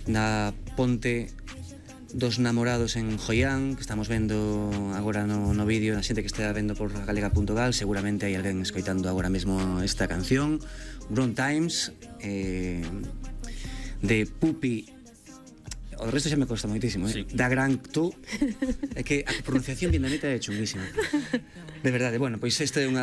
na ponte dos namorados en Joián, que estamos vendo agora no vídeo, a xente que está vendo por galega.gal, seguramente hai alguén escoitando agora mesmo esta canción, Grown Times, de Pupi. O resto xa me costa moitísimo, sí. Da Gran Tu. É que a pronunciación vietnamita é chunguísima. De verdade, bueno, pois este é un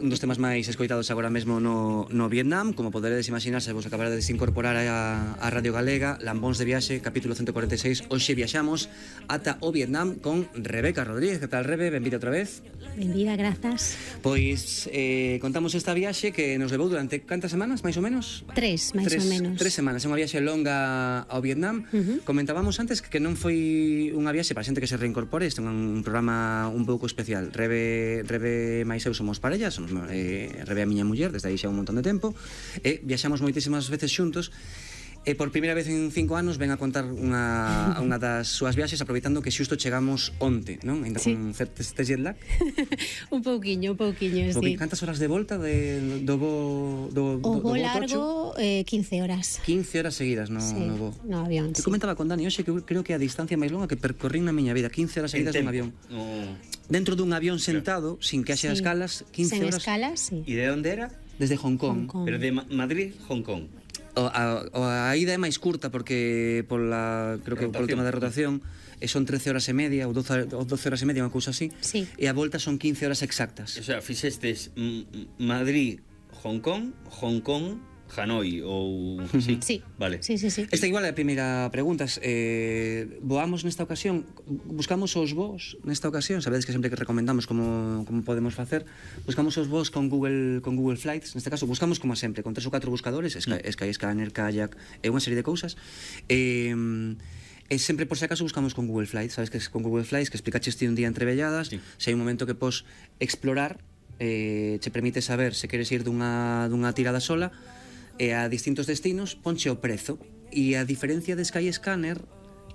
dos temas máis escoitados agora mesmo no Vietnam. Como poderedes imaginar, se vos acabarades de incorporar a Radio Galega, Lambóns de Viaxe, capítulo 146. Hoxe viaxamos ata o Vietnam con Rebeca Rodríguez. Que tal, Rebe? Benvida outra vez. Benvida, grazas. Pois contamos esta viaxe que nos levou durante cantas semanas, máis ou menos? Tres, máis ou menos. 3 semanas, é unha viaxe longa ao Vietnam. Comentábamos antes que non foi unha viaxe para xente que se reincorpore. Este é un programa un pouco especial. Rebe máis eu somos parella, somos Rebe a miña muller desde aí xa un montón de tempo, e viaxamos moitísimas veces xuntos. E por primeira vez en 5 anos ven a contar unha das súas viaxes, aproveitando que xusto chegamos onte, non? Ainda sí. Con certes jet lag. un pouquiño, sí. Cantas horas de volta do voo o voo largo, 15 horas. 15 horas seguidas no voo. No avión, sí. Comentaba con Dani hoxe que creo que a distancia máis longa que percorrín na miña vida, 15 horas seguidas nun avión. Dentro dun avión sentado, sin que haxe escalas, 15 horas. Sen escalas, sí. E de onde era? Desde Hong Kong. Pero de Madrid, Hong Kong. A ida é máis curta porque creo que polo tema da rotación son 13 horas e media ou 12 horas e media, unha cousa así, sí. E a volta son 15 horas exactas. O sea, fixestes Madrid, Hong Kong, Hanoi ou... Sí, sí. Vale. Sí. Esta igual é a primeira pregunta. Voamos nesta ocasión, buscamos os voos nesta ocasión, sabedes que sempre que recomendamos como podemos facer, buscamos os voos con Google Flights, neste caso buscamos como sempre, con 3 ou 4 buscadores, Skyscanner, Kayak e unha serie de cousas. E sempre por se acaso buscamos con Google Flights, sabes que con Google Flights que explicaches ti un día entre velladas, sí. Se hai un momento que pos explorar, che permite saber se queres ir dunha tirada sola e a distintos destinos, ponche o prezo, e a diferencia de Skyscanner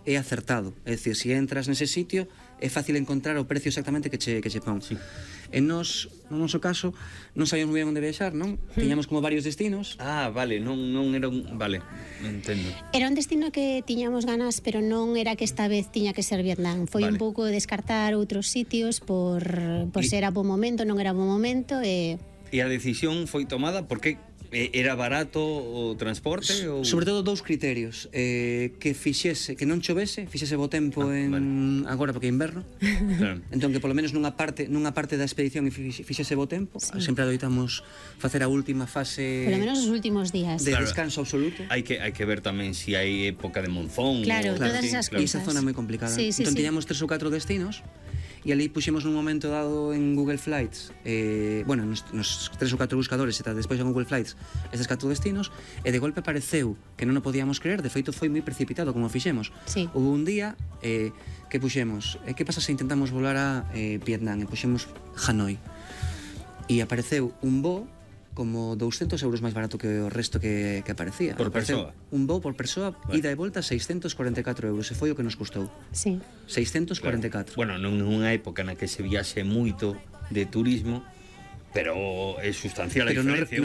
é acertado, é dicir, se entras nese sitio é fácil encontrar o precio exactamente que che pon. Sí. E no noso caso non sabíamos moi ben onde viaxar, non? Tiñamos como varios destinos. Vale, non era un... Vale, non entendo. Era un destino que tiñamos ganas, pero non era que esta vez tiña que ser Vietnam. Foi un pouco descartar outros sitios por ser a bo momento, non era bo momento e a decisión foi tomada porque era barato o transporte? Sobre todo dous criterios, que non chovese, fixese bo tempo agora porque é inverno. Claro. Entón que polo menos nunha parte da expedición fixese bo tempo, sí. Sempre adoitamos facer a última fase, polo menos os últimos días, de descanso absoluto. Hai que ver tamén se hai época de monzón. Claro, todas esas cousas. E esa zona é moi complicada. Entón tiñamos 3 ou 4 destinos. E ali puxemos nun momento dado en Google Flights, nos 3 ou 4 buscadores e despois en Google Flights estes 4 destinos, e de golpe apareceu que non o podíamos creer, de feito foi moi precipitado como fixemos. Sí. Houve un día que puxemos, que pasa se intentamos volar a Vietnam, e puxemos Hanoi, e apareceu un voo como 200 euros máis barato que o resto que aparecía. Por persoa? Un voo por persoa, ida e volta 644 euros, e foi o que nos custou. Sí. 644. Bueno, nunha época na que se viaxe moito de turismo, pero é sustancial a diferencia,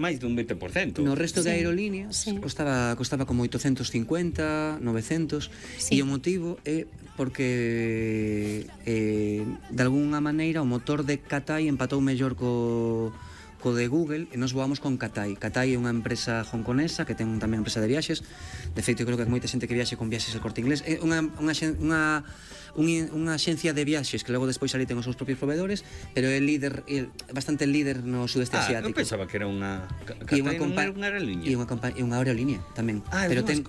máis dun 20%. No resto de aerolíneas costaba como 850, 900, e o motivo é porque de algunha maneira o motor de Cathay empatou mellor co de Google, e nos voamos con Cathay. Cathay é unha empresa hongkonesa que ten tamén empresa de viaxes. De feito, creo que hai moita xente que viaxe con Viaxes El Corte Inglés. É unha axencia de viaxes que logo despois ali ten os seus propios proveedores, pero é bastante líder no sudeste asiático. Eu pensaba que era unha aerolínea. E unha aerolínea tamén. Pero ten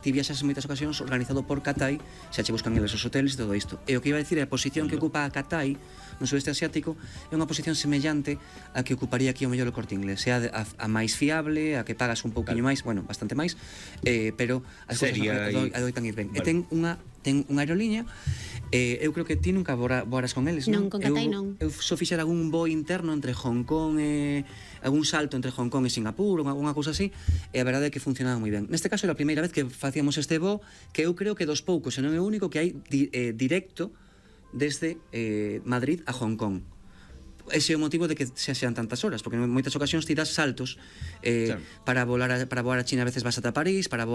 ti viaxas en moitas ocasións organizado por Cathay, xa che buscan eles os hoteles e todo isto. E o que iba a dicir é a posición que ocupa a Cathay no sudeste asiático é unha posición semellante a que ocuparía aquí o mellor o Corte Inglés, sea a máis fiable, a que pagas un pouquiño máis, bueno, bastante máis, pero as cousas adoitan ir ben. E ten unha aerolínea, eu creo que ti nunca voaras con eles, non? Non, con Cathay non. Eu só fixera algún voo interno entre Hong Kong e algún salto entre Hong Kong e Singapur, unha cousa así, e a verdade é que funcionaba moi ben. Neste caso era a primeira vez que facíamos este voo, que eu creo que dos poucos, e non é o único, que hai directo desde Madrid a Hong Kong. Ese é o motivo de que sean tantas horas, porque en moitas ocasións ti das saltos, claro. Para voar a China a veces vas ata París, para voar